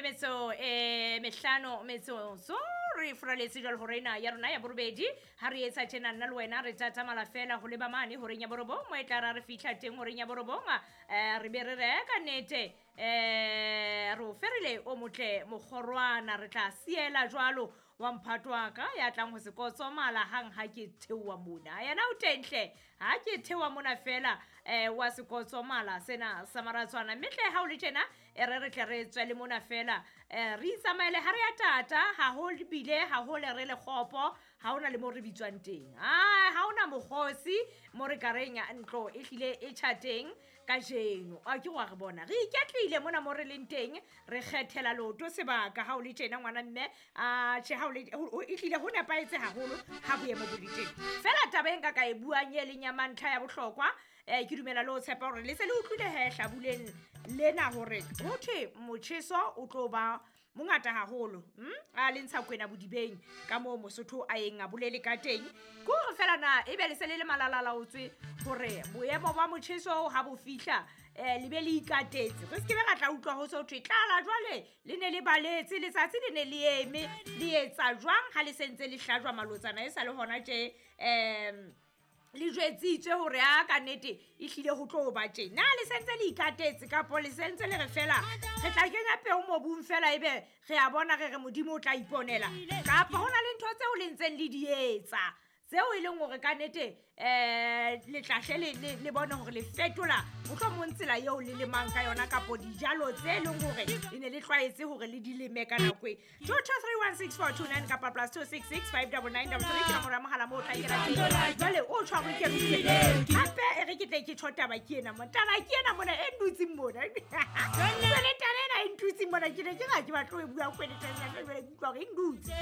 Metso e mehlano metsotso re furaletse jwalo hore ena ya rona ya borobedi. Ha re etsa tjena, nna le wena re tatamala fela ho leba mane horeng ya borobong, mo e tla ra re fihla teng horeng ya borobong, re be re reka nnete, re o ferile o motle mokgorwana, re tla siela jwalo wa mphato wa ka ya tlang ho se kotsomala hang ha ke theoha mona. Yena o teng hle, ha ke theoha mona fela, wa se kotsomala sena sa maratswana. Mme hle ha o le tjena, e re re tle re tswe le mona fela, re itsamaele ha re ya tata haholo, bile haholo re le kgopo, ha hona le mo re bitswang teng, ha hona mokgosi mo re ka reng ntlo e hlile e tjha teng kajeno. A ke wa re bona re iketlile mona mo re leng teng, re kgethela leoto sebaka. Ha o le tjena ngwana mme, a tjhe, ha o le e hlile ho nepahetse haholo ha boemo bo le teng. Fela taba e nka ka e buang e leng ya mantlha ya bohlokwa, ke dumela le ho tshepa hore le se le utlwile he hlabuleng lena hore ho thwe motjheso o tlo ba mongata haholo, A le ntsha kwena bodibeng ka moo Mosotho a yeng a bolele ka teng. Ke hore fela na ebe le se le le malalalaotswe hore boemo ba motjheso ha bo fihla, le be le ikatetse, re se ke be ra tla utlwa ho so thwe tlala jwale le ne le baletse letsatsi le ne le eme le etsa jwang ha le sentse le hlajwa malotsana e sa le hona tje, le jwetsitswe hore a ka nnete e hlile ho tlo ba tje. Na le sentse le ikatetse kapo le sentse le re fela re tla kenya peo mobung fela, ebe re a bona re re Modimo o tla iponela, kapa hona le ntho tseo le ntseng le di etsa tseo e leng hore ka nnete, le tla hle le bone hore le fetola mohlomong tsela eo le lemang ka yona kapo dijalo tse leng hore le ne le tlwaetse hore le di leme ka nako e. 22316 429 kapa +266 599 33 ke nomoro ya mohala moo o tla kena teng. Jwale o tshwarwe ke re hape e re ke tle ke tjho taba ke ena mona, taba ke ena mona e ndutseng mona. Jwale taba ena e ntutseng mona, ke ne ke ga ke batle ho e bua kgwele tjena, jwale ke utlwa hore e ndutse.